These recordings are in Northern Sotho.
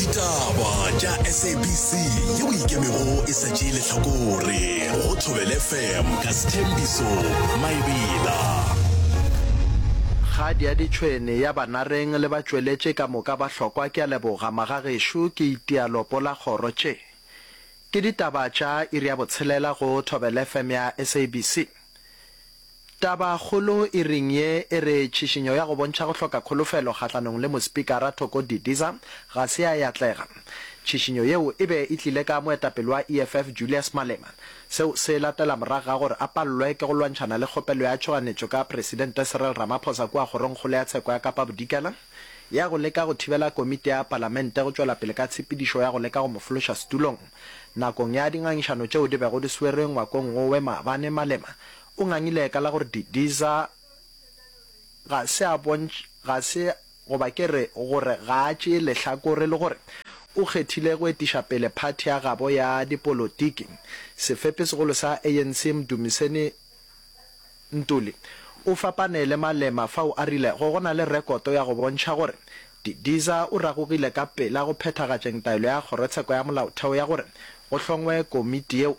Ditaba tša SABC yeo e ikemego e sa tšee lehlakore go Thobela FM ka Sthembiso Maebela. Kgadi ya ditšhwene ya banareng le batšweletše ka moka ba hlokwa ke a leboga magagešo ke itia lopo la kgoro tše ke ditaba tša iri ya botshelela go Thobela FM ya SABC. Tabakgolo iring ye e re tšhišinyo ya go bontšha go hloka kholofelo kgahlanong le Mospikara Thoko Didiza ga se ya atlega. Tšhišinyo yeo e be e tlile ka moetapele wa EFF Julius Malema. Seo se latela morago ga gore a palelwe ke go lwantšhana le kgopelo ya tšhoganetšo ka Presidente Cyril Ramaphosa kua Kgorongkgolo ya Tsheko ya Kapa Bodikela ya go leka go thibela komiti ya Palamente go tšwela pele ka tshepedišo ya go leka go mo fološa setulong. Nakong ya dingangišano tšeo di bego di swerwe ngwakong wowe maabane, Malema O ngangile ka la gore Didiza ga se a bontš, ga se, goba ke re, gore ga a tšee lehlakore le gore o kgethile go etiša pele phathi ya gabo ya dipolotiki. Sefepesegolo sa ANC Mdumiseni Ntuli o fapane le Malema fao a rilego go na le rekoto ya go bontšha gore Didiza o ragogile ka pela go phethagatšeng taelo ya Kgorotsheko ya Molaotheo ya gore go hlongwe komiti yeo.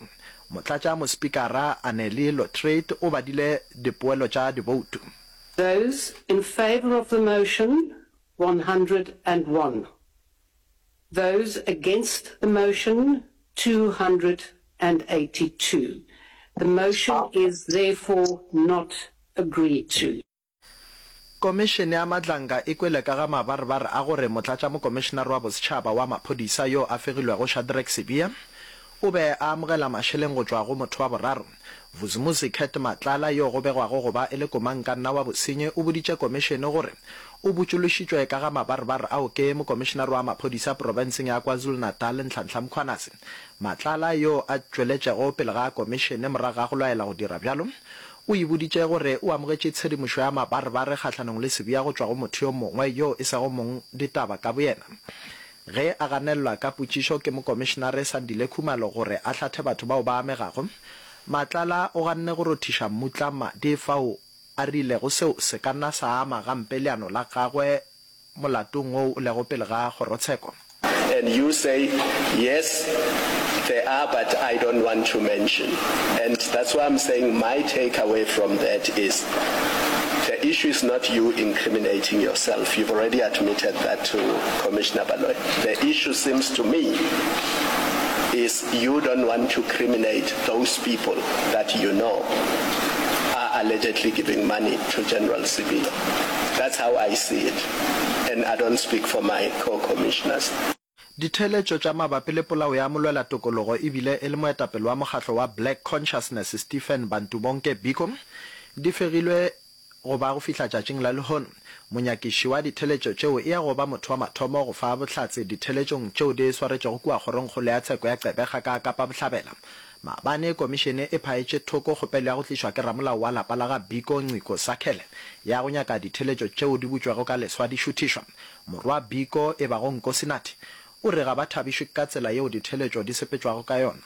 Motlatšamospikara Annelie Lotriet o badile dipoelo tša diboutu. Those in favour of the motion, 101. Those against the motion, 282. The motion is therefore not agreed to. Komišene ya Madlanga e kwele ka ga mabarebare a gore Motlatšamokomišenare wa Bosetšhaba wa Maphodisa yo a fegilwego Shadrack Sibiya o be a amogela mašeleng go tšwa go motho wa boraro. Vusimuzi Cat Matlala yo go begwago go ba e le komangkanna wa bosenyi o boditše komišene gore o botšološitšwe ka ga mabarebare ao ke Mokomišenare wa Maphodisa profenseng ya KwaZulu-Natal Nhlanhla Mkhwanazi. Matlala yo a tšweletšego pele ga komišene morago ga go laela go dira bjalo O e boditše gore o amogetše tshedimošo ya mabarebare kgahlanong le Sibiya go tšwa go motho yo mongwe yo e sego mong ditaba ka boyena. Ge a ganelelwa ka potšišo ke Mokomišenare Sandile Khumalo gore a hlathe batho bao ba amegago, Matlala o ganne go rothiša mmutla madi fao a rilego seo se ka nna sa ama gampe leano la gagwe molatong woo o lego pele ga kgorotsheko. And you say, yes, there are but I don't want to mention. And that's why I'm saying my take away from that is the issue is not you incriminating yourself. You've already admitted that to Commissioner Baloyi. The issue seems to me is you don't want to criminate those people that you know are allegedly giving money to General Sibiya. That's how I see it and I don't speak for my co-commissioners. Ditheeletšo tša mabapi le polao ya molwelatokologo e bile e le moetapele wa mokgatlo wa Black Consciousness Stephen Bantubonke Biko di fegilwe go ba go fihla tšatšing la lehono. Monyakiši wa ditheeletšo tšeo e ya go ba motho wa mathomo go fa bohlatse ditheeletšong tšeo di swaretšwego kua Kgorongkgolo ya Tsheko ya Gqeberha ka Kapa Bohlabela. Maabane komišene e phaetše thoko kgopelo ya go tlišwa ke ramolao wa lapa la ga Biko Nciko Sakhele ya go nyaka ditheeletšo tšeo di butšwego ka leswa di šuthišwa. Morwa Biko e bago Nkosinathi o re ga ba thabišwe ka tsela yeo ditheeletšo di sepetšwago ka yona.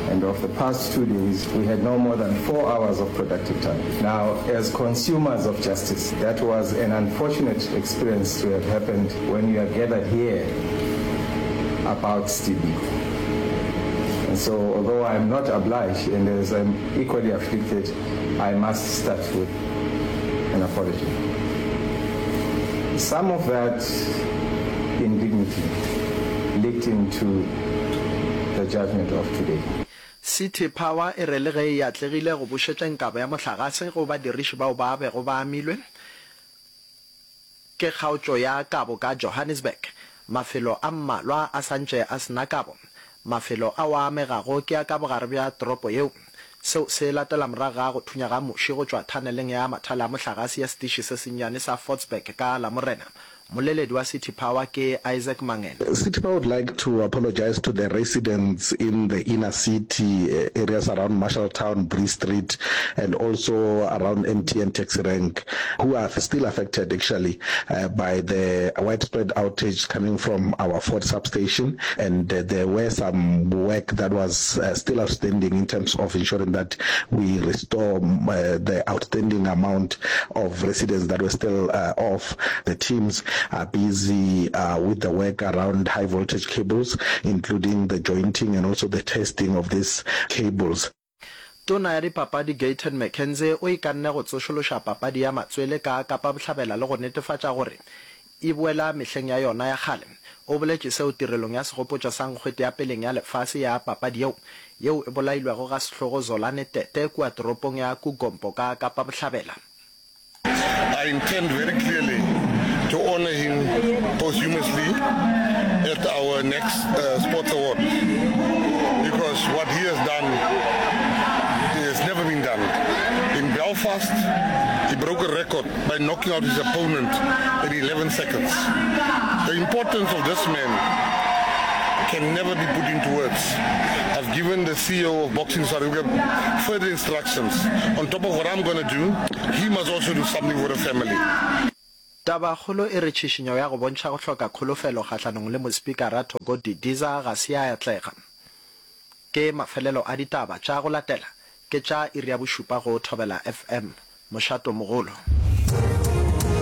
And of the past two days, we had no more than four hours of productive time. Now, as consumers of justice, that was an unfortunate experience to have happened when you are gathered here about Steve Biko. And so, although I am not obliged and as I'm equally afflicted, I must start with an apology. Some of that indignity leaked into the judgment of today. City Power e re le ge e atlegile go bušetšeng kabo ya mohlagase go badiriši bao ba bego ba amilwe ke kgaotšo ya kabo ka Johannesburg, mafelo a mmalwa a sa ntše a se na kabo. Mafelo ao a amegago ke a ka bogare bja toropo yeo. Seo se latela morago ga go thunya ga muši go tšwa thaneleng ya mathale a mohlagase ya setiši se sennyane sa Fordsburg ka Lamorena. Mmoleledi wa City Power ke Isaac Mangena. City Power would like to apologise to the residents in the inner city areas around Marshalltown, Bree Street and also around MTN taxi rank who are still affected actually by the widespread outage coming from our Ford substation and there were some work that was still outstanding in terms of ensuring that we restore the outstanding amount of residents that were still off. The teams. are busy with the work around high voltage cables, including the jointing and also the testing of these cables. Tona ya Dipapadi Gayton McKenzie o ikanne go tsošološa papadi ya matswele ka Kapa Bohlabela le go netefatša gore e boela mehleng ya yona ya kgale. O boletše seo tirelong ya segopotšo sa nkgwete ya peleng ya lefase ya papadi yeo, yeo e bolailwego ga sehlogo Zolani Tete kua toropong ya Kugompo ka Kapa Bohlabela. I intend very clearly to honor him posthumously at our next uh, sports award because what he has done has never been done. In Belfast, he broke a record by knocking out his opponent in 11 seconds. The importance of this man can never be put into words. I've given the CEO of Boxing South Africa further instructions. On top of what I'm going to do, he must also do something for the family. Tabakgolo e re tšhišinyo ya go bontšha go hloka kholofelo kgahlanong le Mospikara Thoko Didiza ga se ya atlega. Ke mafelelo a ditaba tša go latela ke tša iri ya bošupa go Thobela FM, mošatomogolo.